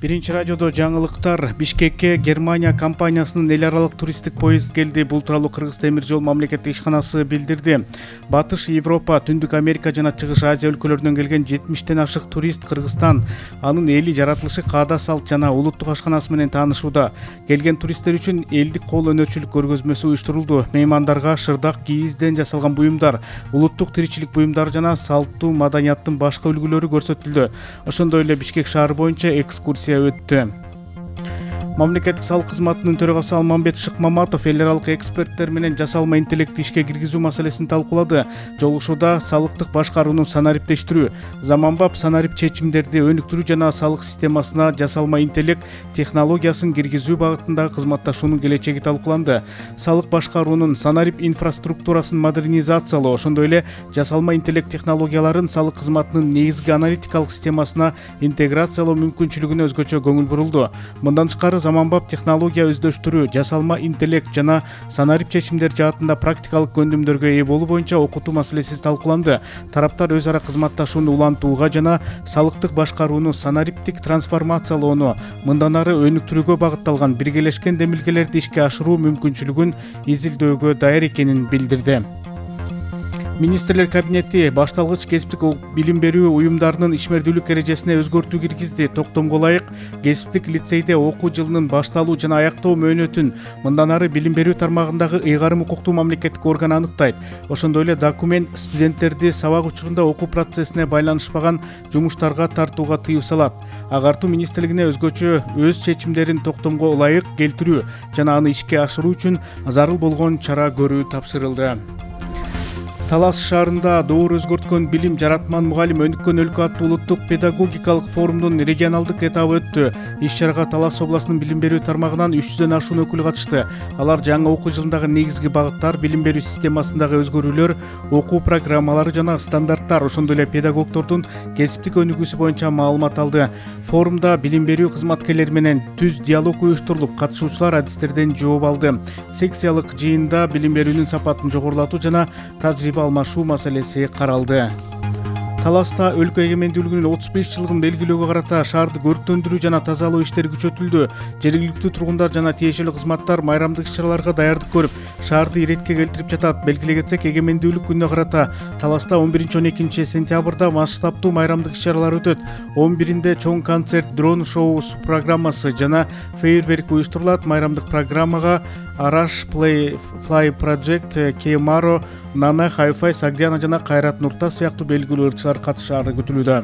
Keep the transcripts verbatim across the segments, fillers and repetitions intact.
Биринчи радиодо жаңылыктар. Бишкекке Германия компаниясынын эл аралык туристтик поезд келди. Бул тууралуу Кыргыз темир жол мамлекеттик ишканасы билдирди. Батыш Европа, Түндүк Америка жана Чыгыш Азия өлкөлөрүнөн келген жетимиштен ашык турист Кыргызстан, анын эли, жаратылышы, каада салт жана улуттук ашканасы менен таанышууда. Келген туристтер үчүн элдик кол өнөрчүлүк көргөзмөсү уюштурулду. Меймандарга шырдак, кийизден жасалган буюмдар, улуттук тиричилик буюмдары жана салттуу маданияттын башка үлгүлөрү көрсөтүлдү. Ошондой эле Бишкек шаары боюнча экскурсия өттү. Мамлекеттик салык кызматынын төрагасы Алмамбет Шыкмаматов эл аралык эксперттер менен жасалма интеллектти ишке киргизүү маселесин талкуулады. Жолугушууда салыктык башкарууну санариптештирүү, заманбап санарип чечимдерди өнүктүрүү жана салык системасына жасалма интеллект технологиясын киргизүү багытындагы кызматташуунун келечеги талкууланды. Салык башкаруунун санарип инфраструктурасын модернизациялоо, ошондой эле жасалма интеллект технологияларын салык кызматынын негизги аналитикалык системасына интеграциялоо мүмкүнчүлүгүнө өзгөчө көңүл бурулду. Мындан тышкары заманбап технология өздөштүрүү, жасалма интеллект жана санарип чечимдер жаатында практикалык көндүмдөргө ээ болуу боюнча окутуу маселеси талкууланды. Тараптар өз ара кызматташууну улантууга жана салыктык башкарууну санариптик трансформациялоону мындан ары өнүктүрүүгө багытталган биргелешкен демилгелерди ишке ашыруу мүмкүнчүлүгүн изилдөөгө даяр экенин билдирди. Министрлер кабинети башталгыч кесиптик билим берүү уюмдарынын ишмердүүлүк эрежесине өзгөртүү киргизди. Токтомго ылайык кесиптик лицейде окуу жылынын башталуу жана аяктоо мөөнөтүн мындан ары билим берүү тармагындагы ыйгарым укуктуу мамлекеттик орган аныктайт. Ошондой эле документ студенттерди сабак учурунда окуу процессине байланышпаган жумуштарга тартууга тыюу салат. Агартуу министрлигине өзгөчө өз чечимдерин Токтомго ылайык келтирүү жана аны ишке ашыруу үчүн зарыл болгон чара көрүү тапшырылды. Талас шаарында доор өзгөрткөн билим жаратман мугалим өнүккөн өлкө аттуу улуттук педагогикалык форумдун регионалдык этабы өттү. Иш-чарага Талас областынын билим берүү тармагынан үч жүздөн ашуун өкүл катышты. Алар жаңы окуу жылындагы негизги багыттар, билим берүү системасындагы өзгөрүүлөр, окуу программалары жана стандарттар, ошондой эле педагогдордун кесиптик өнүгүүсү боюнча маалымат алды. Форумда билим берүү кызматкерлери менен түз диалог уюштурулуп, катышуучулар адистерден жооп алды. Секциялык жыйында билим берүүнүн сапатын жогорулатуу жана тажрыйба алмашуу маселеси каралды. Таласта өлкө эгемендүүлүгүнүн отуз беш жылдыгын белгилөөгө карата шаарды көрктөндүрүү жана тазалоо иштери күчөтүлдү. Жергиликтүү тургундар жана тиешелүү кызматтар майрамдык иш-чараларга даярдык көрүп, шаарды иретке келтирип жатат. Белгилей кетсек, эгемендүүлүк күнүнө карата Таласта он биринчи он экинчи сентябрда масштабтуу майрамдык иш-чаралар өтөт. он биринде чоң концерт, дрон шоу программасы жана фейерверк уюштурулат. Майрамдык программага Араш Play Fly Project, Кемаро, Нана, Хайфай, Сагдиана жана Кайрат Нуртас сыяктуу белгилүү ырчылар катышаары күтүлүүдө.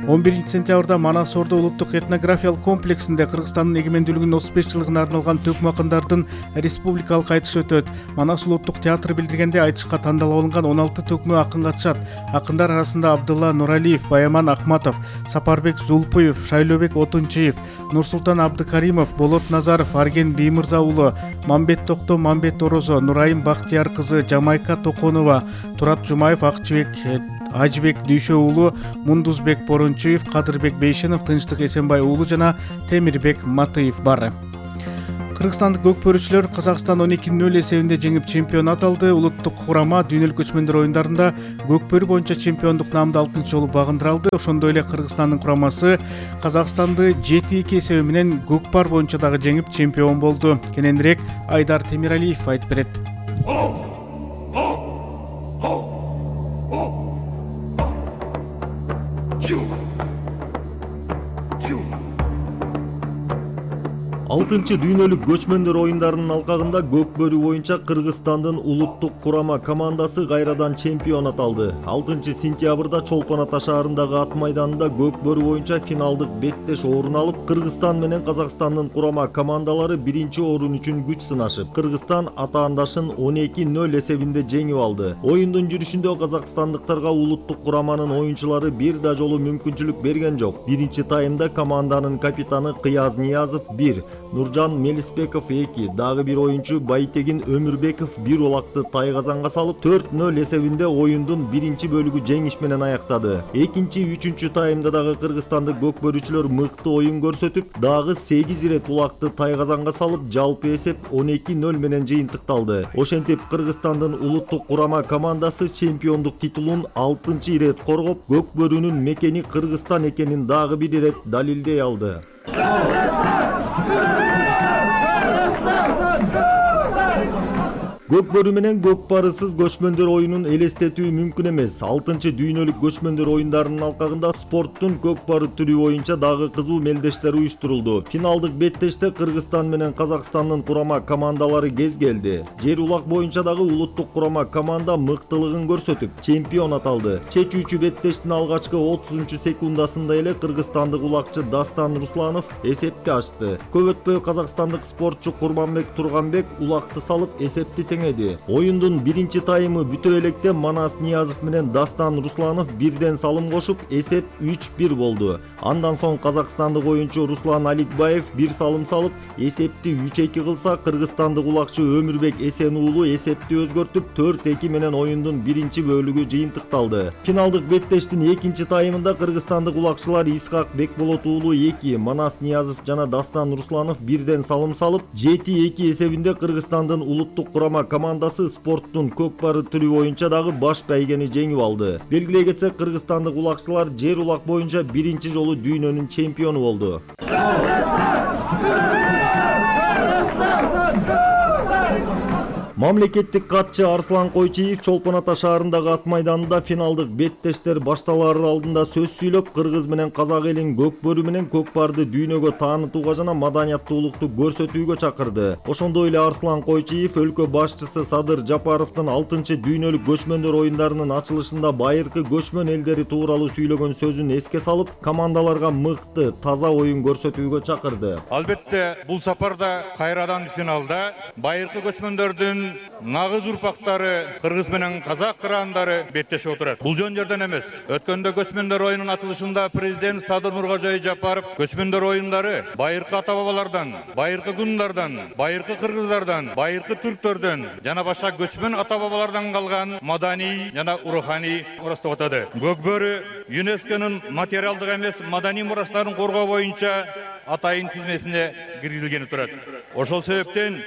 он биринчи сентябрда Манас Ордо улуттук этнографиялык комплексинде Кыргызстандын эгемендүүлүгүнүн отуз беш жылдыгына арналган төкмө акындардын республикалык айтышы өтөт. Манас улуттук театры билдиргенде, айтышка тандалып алынган он алты төкмө акын катышат. Акындар арасында Абдылла Нуралиев, Баяман Акматов, Сапарбек Зулпуев, Шайлообек Отунчиев, Нурсултан Абдыкаримов, Болот Назаров, Арген Биймырза уулу, Мамбет Токто, Мамбет Орозо, Нурайым Бактияр кызы, Жамайка Токонова, Турат Жумаев, Акчыбек Ажбек Дүйшө уулу, Мундузбек Борунчуев, Кадырбек Бейшенов, Тынчтык Эсенбай уулу жана Темирбек Матыев бар. Кыргызстандык көкпөрүүчүлөр Казакстан он эки нөл эсебинде жеңип чемпионат алды. Улуттук курама дүйнөлүк көчмөндөр оюндарында көкпөрүү боюнча чемпиондук наамды алтынчы жолу багындыра алды. Ошондой эле Кыргызстандын курамасы Казакстанды жети эки эсеби менен көкпар боюнча дагы жеңип чемпион болду. Кененирээк Айдар Темиралиев айтып берет. алтынчы дүйнөлүк көчмөндөр оюндарынын алкагында көкбөрүү боюнча Кыргызстандын улуттук курама командасы кайрадан чемпионат алды. алтынчы сентябрда Чолпон Ата шаарындагы ат майданында көкбөрүү боюнча финалдык беттеш орун алып, Кыргызстан менен Казакстандын курама командалары биринчи орун үчүн күч сынашып, Кыргызстан атаандашын он эки нөл эсебинде жеңип алды. Оюндун жүрүшүндө казакстандыктарга улуттук кураманын оюнчулары бир да жолу мүмкүнчүлүк берген жок. Биринчи таймда команданын капитаны Кыяз Ниязов бир, Нуржан Мелисбеков эки, дагы бир оюнчу Байтегин Өмүрбеков бир улакты тай казанга салып төрт нөл эсебинде оюндун биринчи бөлүгү жеңиш менен аяктады. Экинчи, үчүнчү таймда дагы кыргызстандык көкбөрүчүлөр мыкты оюн көрсөтүп, дагы сегиз ирет улакты тай казанга салып, жалпы эсеп он эки нөл менен жыйынтыкталды. Ошентип Кыргызстандын улуттук курама командасы чемпиондук титулун алтынчы ирет коргоп, көкбөрүнүн мекени Кыргызстан экенин дагы бир ирет далилдей алды. Көкбөрү менен көкпарысыз көчмөндөр оюнун элестетүү мүмкүн эмес. алтынчы дүйнөлүк көчмөндөр оюндарынын алкагында спорттун көкпары түрү боюнча дагы кызуу мелдештер уюштурулду. Финалдык беттеште Кыргызстан менен Казакстандын курама командалары кез келди. Жер улак боюнча дагы улуттук курама команда мыктылыгын көрсөтүп, чемпион аталды. Чечүүчү беттештин алгачкы отузунчу секундасында эле кыргызстандык улакчы Дастан Русланов эсепти ачты. Көп өтпөй казакстандык спортчу Курманбек Турганбек улакты салып эсепти теңеди. Оюндун биринчи таймы бүтө электе Манас Ниязов менен Дастан Русланов бирден салым кошуп, эсеп үч бир болду. Андан соң казакстандык оюнчу Руслан Аликбаев бир салым салып, эсепти үч эки кылса, кыргызстандык улакчы Өмүрбек Эсен уулу эсепти өзгөртүп төрт эки менен оюндун биринчи бөлүгү жыйынтыкталды. Финалдык беттештин экинчи таймында кыргызстандык улакчылар Исхак Бекболот уулу эки, Манас Ниязов жана Дастан Русланов бирден салым салып, жети эки эсебинде Кыргызстандын улуттук курама командасы спорттун көкпары түрү боюнча дагы баш байгени жеңип алды. Белгилей кетсек, кыргызстандык улакчылар жер улак боюнча биринчи жолу дүйнөнүн чемпиону болду. Мамлекеттик катчы Арслан Койчиев Чолпон Ата шаарындагы ат майданында финалдык беттештер башталаар алдында сөз сүйлөп, кыргыз менен казак элин көкбөрү менен көкпарды дүйнөгө таанытууга жана маданияттуулукту көрсөтүүгө чакырды. Ошондой эле Арслан Койчиев өлкө башчысы Садыр Жапаровдун алтынчы дүйнөлүк көчмөндөр оюндарынын ачылышында байыркы көчмөн элдери тууралуу сүйлөгөн сөзүн эске салып, командаларга мыкты, таза оюн көрсөтүүгө чакырды. Албетте, бул сапарда кайрадан финалда байыркы көчмөндөрдүн нагыз урпактары кыргыз менен казак кырандары беттешип отурат. Бул жөн жерден эмес. Өткөндө көчмөндөр оюнунун ачылышында президент Садыр Нуркожой Жапаров көчмөндөр оюндары байыркы ата бабалардан, байыркы гундардан, байыркы кыргыздардан, байыркы түрктөрдөн жана башка көчмөн ата бабалардан калган маданий жана руханий мурас деп атады. Көкбөрү ЮНЕСКОнун материалдык эмес маданий мурастарын коргоо боюнча атайын тизмесине киргизилгени турат. Ошол себептен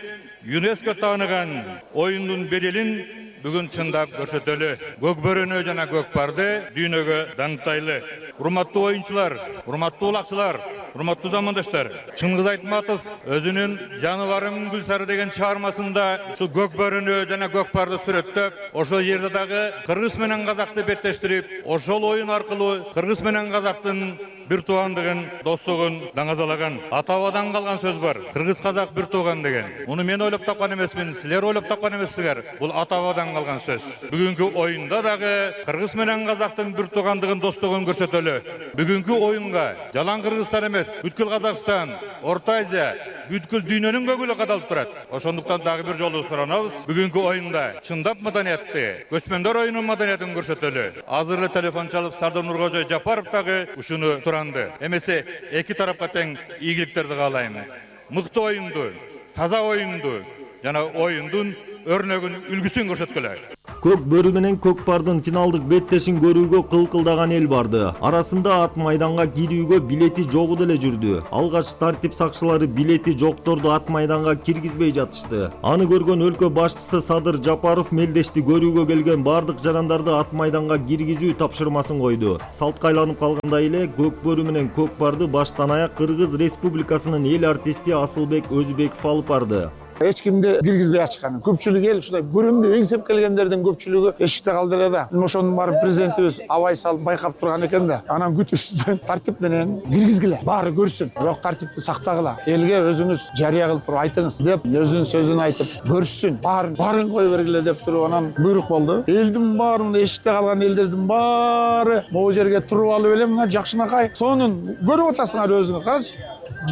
ЮНЕСКО тааныган оюндун беделин бүгүн чындап көрсөтөлү. Көкбөрүнү жана көкпарды дүйнөгө даңктайлы. Урматтуу оюнчулар, урматтуу улакчылар, урматтуу замандаштар, Чыңгыз Айтматов өзүнүн Жаныбарым Гүлсары деген чыгармасында ушу көкбөрүнү жана көкпарды сүрөттөп, ошол жерде дагы кыргыз менен казакты беттештирип, ошол оюн аркылуу кыргыз менен казактын бир туугандыгын, достугун даңазалаган. Ата-бабадан калган сөз бар. Кыргыз казак бир тууган деген. Муну мен ойлоп тапкан эмесмин, силер ойлоп тапкан эмессиңер. Бул ата-бабадан калган сөз. Бүгүнкү оюнда дагы кыргыз менен казактын бир туугандыгын, достугун көрсөтөлү. Бүгүнкү оюнга жалаң Кыргызстан эмес, бүткүл Казакстан, Орто Азия, бүткүл дүйнөнүн көгүлү кадалып турат. Ошондуктан дагы бир жолу суранабыз. Бүгүнкү оюнда чындап маданиятты, көчмөндөр оюнунун маданиятын көрсөтөлү. Азыр эле телефон чалып Садыр Нуркожой Жапаров дагы ушуну туранды. Эмесе эки тарапка тең ийгиликтерди каалайм. Мыкты оюнду, таза оюнду жана оюндун өрнөгүн, үлгүсүн көрсөткүлө. Көкбөрү менен көкпардын финалдык беттешин көрүүгө кылкылдаган эл барды. Арасында ат майданга кирүүгө билети жогу деле жүрдү. Алгач тартип сакчылары билети жокторду ат майданга киргизбей жатышты. Аны көргөн өлкө башчысы Садыр Жапаров мелдешти көрүүгө келген бардык жарандарды ат майданга киргизүү тапшырмасын койду. Салтка айланып калгандай эле көкбөрү менен көкпарды баштан аяк Кыргыз Республикасынын эл артисти Асылбек Өзбеков алып барды. Эч кимди киргизбей ачкан. Көпчүлүк эл ушундай көрөм деп эңсеп келгендердин көпчүлүгү эшикте калды эле да. Ошонун баары президентибиз абай салып байкап турган экен да. Анан күтүшүздөн тартип менен киргизгиле. Баары көрсүн. Бирок тартипти сактагыла. Элге өзүңүз жарыя кылып туруп айтыңыз деп өзүнүн сөзүн айтып көрүшсүн. Баарын баарын кое бергиле деп туруп анан буйрук болду. Элдин баары, эшикте калган элдердин баары могу жерге туруп алып эле мына жакшынакай сонун көрүп атасыңар өзүңөр. Карачы.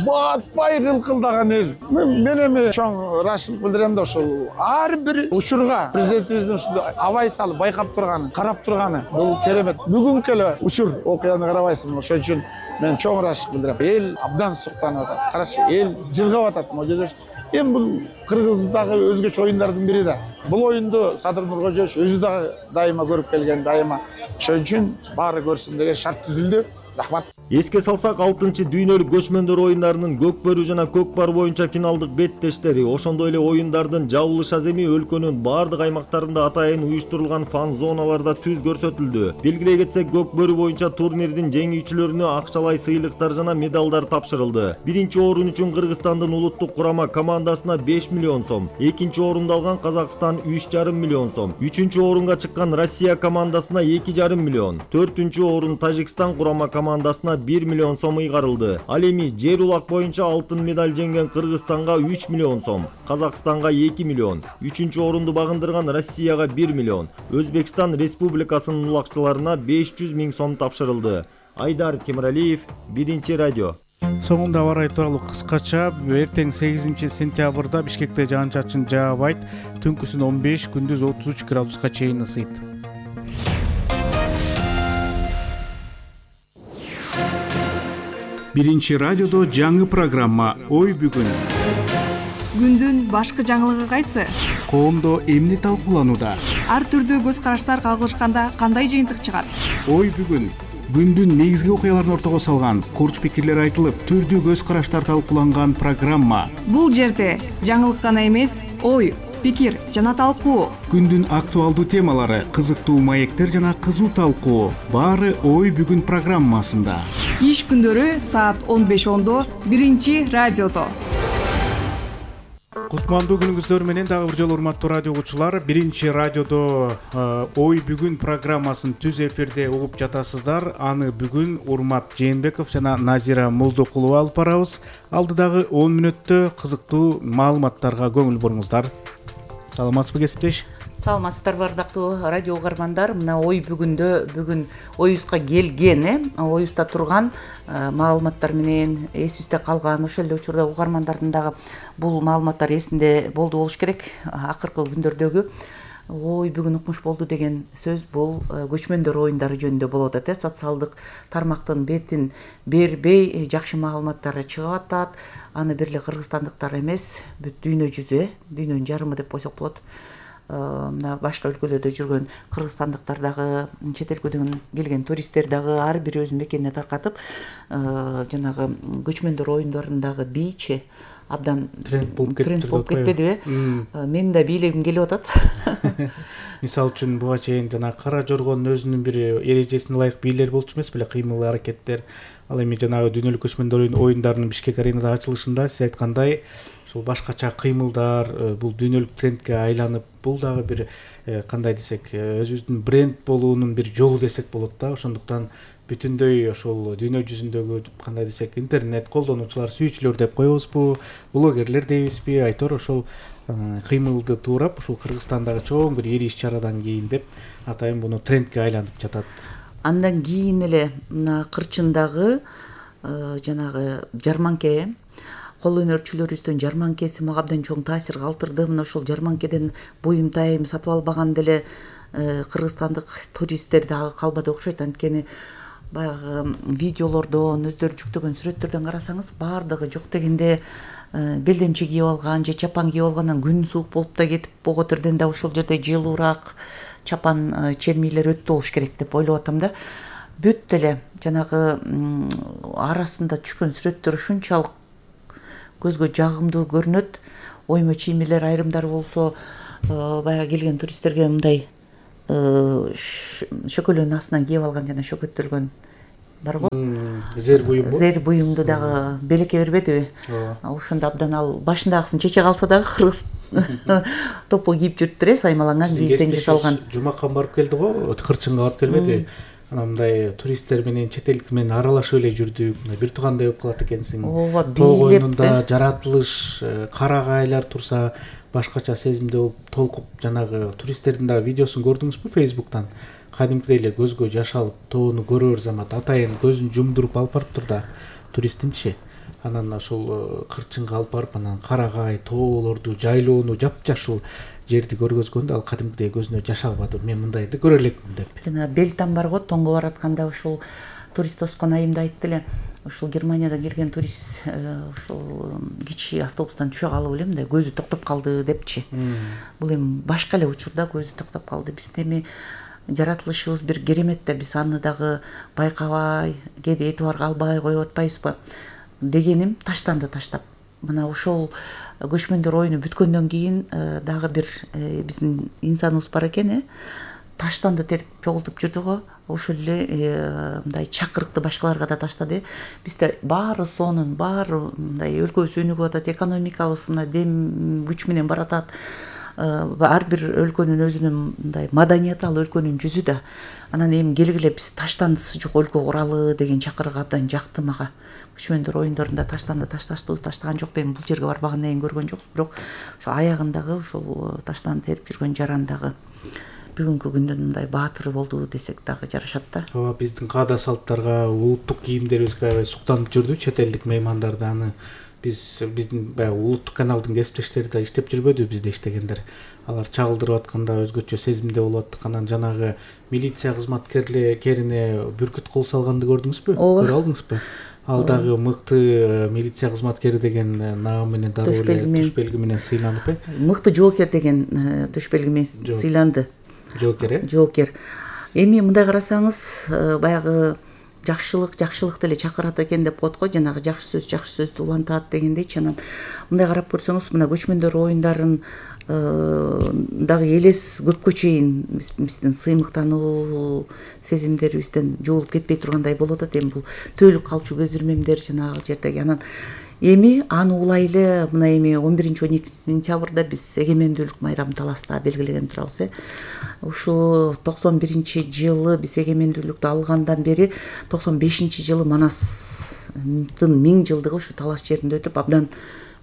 батпай кылкылдаган эл. Мен эми чоң ырашчылык билдирем да ошол ар бир учурга президентибиздин ушундай абай салып байкап турганы, карап турганы бул керемет. Бүгүнкү эле учур окуяны карабайсызбы? Ошон үчүн мен чоң ырашчылык билдирем. Эл абдан суктанып атат. Карачы, эл жылгап атат могу жерде. Эми бул Кыргыздагы өзгөчө оюндардын бири да. Бул оюнду Садыр Нуркожоевич өзү дагы дайыма көрүп келген, дайыма. Ошон үчүн баары көрсүн деген шарт түзүлдү. Рахмат. Эске салсак, алтынчы дүйнөлүк көчмөндөр оюндарынын көкбөрү жана көкпар боюнча финалдык беттештери, ошондой эле оюндардын жабылыш аземи өлкөнүн баардык аймактарында атайын уюштурулган фан зоналарда түз көрсөтүлдү. Белгилей кетсек, көкбөрү боюнча турнирдин жеңүүчүлөрүнө акчалай сыйлыктар жана медалдар тапшырылды. Биринчи орун үчүн Кыргызстандын улуттук курама командасына беш миллион сом, экинчи орунду алган Казакстан үч жарым миллион сом, үчүнчү орунга чыккан Россия командасына эки жарым миллион, төртүнчү орун Тажикстан курама командасына бир миллион сом ыйгарылды. Ал эми жер улак боюнча алтын медаль жеңген Кыргызстанга үч миллион сом, Казакстанга эки миллион, үчүнчү орунду багындырган Россияга бир миллион, Өзбекстан Республикасынын улакчыларына беш жүз миң сом тапшырылды. Айдар Темиралиев, Биринчи радио. Соңунда аба ырайы тууралуу кыскача. Эртең сегизинчи сентябрда Бишкекте жаан-чачын жаабайт. Түнкүсүн он беш, күндүз отуз үч градуска чейин ысыйт. Биринчи радиодо жаңы программа «Ой бүгүн». Күндүн башкы жаңылыгы кайсы? Коомдо эмне талкууланууда? Ар түрдүү көз караштар кагылышканда кандай жыйынтык чыгат? Ой бүгүн. Күндүн негизги окуяларын ортого салган, курч пикирлер айтылып, түрдүү көз караштар талкууланган программа. Бул жерде жаңылык гана эмес, ой, пикир жана талкуу. Күндүн актуалдуу темалары, кызыктуу маектер жана кызуу талкуу. Баары Ой бүгүн программасында. Иш күндөрү саат он беш ондо Биринчи радиодо. Кутмандуу күнүңүздөр менен дагы бир жолу урматтуу радио угуучулар, Биринчи радиодо Ой бүгүн программасын түз эфирде угуп жатасыздар. Аны бүгүн Урмат Жээнбеков жана Назира Молдокулова алып барабыз. Алдыдагы он мүнөттө кызыктуу маалыматтарга көңүл буруңуздар. Саламатсызбы кесиптеш? Саламатсыздарбы ардактуу радио угармандар. Мына ой бүгүндө бүгүн оюбузга келген, э, оюбузда турган маалыматтар менен эсибизде калган, ошол эле учурда угармандардын дагы бул маалыматтар эсинде болду болуш керек. Акыркы күндөрдөгү ой бүгүн укмуш болду деген сөз бул көчмөндөр оюндары жөнүндө болуп атат. Социалдык тармактын бетин бербей жакшы маалыматтар чыгып атат. Аны бир эле кыргызстандыктар эмес, бүт дүйнө жүзү, дүйнөнүн жарымы деп койсок болот. Мына башка өлкөлөрдө жүргөн кыргызстандыктар дагы, чет өлкөдөн келген туристтер дагы ар бири өз мекенине таркатып, жанагы көчмөндөр оюндарындагы бийчи абдан тренд болуп тренд болуп кетпедиби? Менин да бийлегим келип атат. Мисалы үчүн буга чейин жана кара жоргондун өзүнүн бир эрежесине ылайык бийлер болчу эмес беле, кыймыл аракеттер. Ал эми жанагы дүйнөлүк көчмөндөр оюндарынын Бишкек аренада ачылышында сиз айткандай ушул башкача кыймылдар бул дүйнөлүк трендке айланып, бул дагы бир кандай десек, өзүбүздүн бренд болуунун бир жолу десек болот да. Ошондуктан бүтүндөй ошол дүйнө жүзүндөгү кандай десек, интернет колдонуучулар, сүйүүчүлөр деп коебузбу, блогерлер дейбизби, айтор ошол кыймылды туурап ушул Кыргызстандагы чоң бир ири иш-чарадан кийин деп атайын муну трендке айланып жатат. Андан кийин эле мына кырчындагы жанагы жарманке, кол өнөрчүлөрүбүздүн жарманкеси мага абдан чоң таасир калтырды. Мына ошол жарманкеден буюм тайым сатып албаган деле кыргызстандык туристтер дагы калбады окшойт. Анткени баягы видеолордон, өздөрү жүктөгөн сүрөттөрдөн карасаңыз, баардыгы жок дегенде белдемчи кийип алган же чапан кийип алгандан күн суук болуп да кетип, Боготерден да ошол жерде жылуураак чапан чермилер өттү болуш керек деп ойлоп атам да. Бүт эле жанагы арасында түшкөн сүрөттөр ушунчалык көзгө жагымдуу көрүнөт. Оймо чиймелер айрымдары болсо баягы келген туристтерге мындай шөкөлөнүн астынан кийип алган жана шөкөттөлгөн бар го. Зер буюм. Зер буюмду дагы белекке бербедиби? Ошондо абдан ал башындагысын чече калса дагы кыргыз топу кийип жүрүптүр, саймаланган кийизден жасалган. Жумакка барып келди го, кырчынга барып келбеди. Анан мындай туристтер менен чет элдик менен аралашып эле жүрдүк. Бир туугандай болуп калат экенсиң. Ооба, бийлеп оюнунда жаратылыш, карагайлар турса башкача сезимде болуп толкуп, жанагы туристтердин дагы видеосун көрдүңүзбү Facebook'тан? Кадимкидей эле көзгө жаш алып, тоону көрөр замат атайын көзүн жумдуруп алып барыптыр да туристтинчи. анан ошол кырчынга алып барып анан карагай тоолорду, жайлоону, жапжашыл жерди көргөзгөндө ал кадимкидей көзүнө жаш албады. Мен мындайды көрө элекмин деп. Жана Белтан барго тоңго баратканда ушул турист тоскон айымда айтты эле, ушул Германиядан келген турист ушул кичи автобустан түшө калып эле мындай көзү токтоп калды депчи. Бул эми башка эле учурда көзү токтоп калды. Биздин эми жаратылышыбыз бир керемет да, биз аны дагы байкабай, кээде этибар албай коюп атпайбызбы дегеним, таштанды таштап. Мына ушул көчмөндөр оюну бүткөндөн кийин дагы бир биздин инсаныбыз бар экен, э таштанды терип чогултуп жүрдү го. Ошол эле мындай чакырыкты башкаларга да таштады. Бизде баары сонун, баары мындай өлкөбүз өнүгүп атат, экономикабыз мына дем күч менен баратат. Ар бир өлкөнүн өзүнүн мындай маданияты, ал өлкөнүн жүзү да. Анан эми келгиле биз таштандысы жок өлкө куралы деген чакырык абдан жакты мага. Көчмөндөр оюндарында таштанды ташташтыбыз, таштаган жокпу, эми бул жерге барбагандан кийин көргөн жокпуз, бирок ошо аягындагы ушул таштанды терип жүргөн жарандагы бүгүнкү күндүн мындай баатыры болду десек дагы жарашат да. Ооба, биздин каада салттарга, улуттук кийимдерибизге аябай суктанып жүрдү чет элдик меймандар да. Аны биз биздин баягы улуттук каналдын кесиптештери да иштеп жүрбөдү, бизде иштегендер. Алар чагылдырып атканда өзгөчө сезимде болуп аттык. Анан жанагы милиция кызматкерлерине бүркүт кол салганды көрдүңүзбү? Көрө алдыңызбы? Ал дагы мыкты милиция кызматкери деген наам менен дароо эле төш белги менен сыйланып, э? Мыкты жоокер деген төш белги менен сыйланды. Жоокер, э? Жоокер. Эми мындай карасаңыз, баягы жакшылык жакшылык деле чакырат экен деп коет го, жанагы жакшы сөз жакшы сөздү улантат дегендейчи. Анан мындай карап көрсөңүз, мына көчмөндөр оюндарын дагы элес көпкө чейин биздин сыймыктануу сезимдерибизден жуулуп кетпей тургандай болуп атат. Эми бул төөлүк калчу көзүрмемдер жанагы жердеги. Анан эми аны улай эле мына эми он биринчи он экинчи сентябрда биз эгемендүүлүк майрамын Таласта белгилеген турабыз, э. Ушу токсон биринчи жылы биз эгемендүүлүктү алгандан бери токсон бешинчи жылы Манастын миң жылдыгы ушу Талас жеринде өтүп, абдан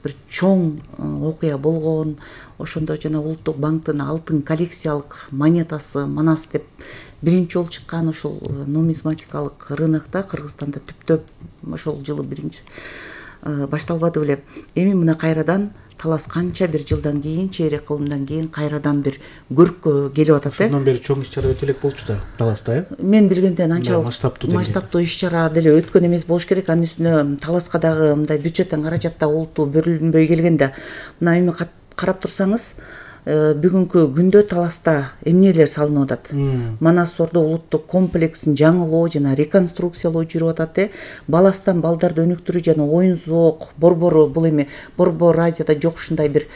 бир чоң окуя болгон. Ошондо жана Улуттук банктын алтын коллекциялык монетасы Манас деп биринчи жолу чыккан. Ошол нумизматикалык рынокто Кыргызстанда түптөп ошол жылы биринчи башталбады беле. Эми мына кайрадан Талас канча бир жылдан кийин, чейрек кылымдан кийин кайрадан бир көрккө келип атат, э. Ошондон бери чоң иш-чара өтө элек болчу да Таласта, э? Мен билгенден анчалык масштабтуу масштабтуу иш-чара деле өткөн эмес болуш керек. Анын үстүнө Таласка дагы мындай бюджеттен каражат да олуттуу берилбөй келген да. Мына эми карап турсаңыз, бүгүнкү күндө Таласта эмнелер салынып атат. Манас Ордо улуттук комплексин жаңылоо жана реконструкциялоо жүрүп атат, э. Баластан балдарды өнүктүрүү жана оюн зоок, борбору, бул эми борбор Азияда жок ушундай бир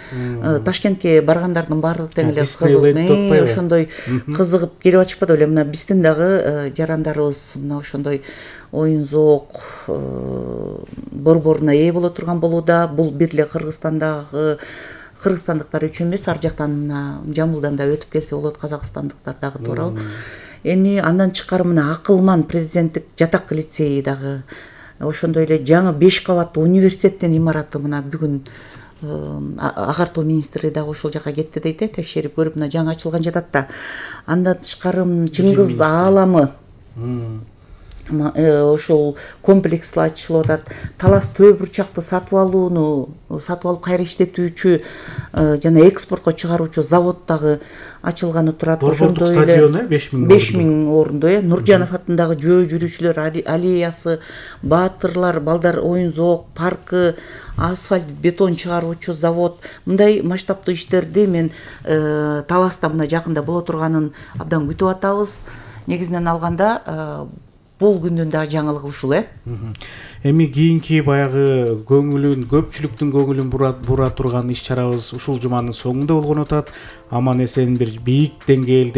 Ташкентке баргандардын баардык тең эле кызыгып, ошондой кызыгып келип атышпады беле. Мына биздин дагы жарандарыбыз мына ошондой оюн зоок борборуна ээ боло турган болууда. Бул бир эле Кыргызстандагы кыргызстандыктар үчүн эмес, ар жактан мына Жамбылдан да өтүп келсе болот, казакстандыктар дагы туурабы. Эми андан тышкары мына Акылман президенттик жатак лицейи дагы, ошондой эле жаңы беш кабаттуу университеттин имараты мына бүгүн агартуу министри дагы ошол жака кетти дейт, э, текшерип көрүп мына жаңы ачылган жатат да. Андан тышкары Чыңгыз ааламы ошол комплекс ачылып атат. Талас төө бурчакты сатып алууну, сатып алып кайра иштетүүчү жана экспортко чыгаруучу завод дагы ачылганы турат. Ошондой эле беш миң орунду, э. Нуржанов атындагы жөө жүрүүчүлөр аллеясы, баатырлар, балдар оюн зоок паркы, асфальт, бетон чыгаруучу завод. Мындай масштабтуу иштерди мен Таласта мына жакында боло турганын абдан күтүп атабыз. Негизинен алганда бул күндүн дагы жаңылыгы ушул, э. Эми кийинки баягы көңүлүн, көпчүлүктүн көңүлүн бура турган иш-чарабыз ушул жуманын соңунда болгон атат. Аман эсен бир бийик деңгээлде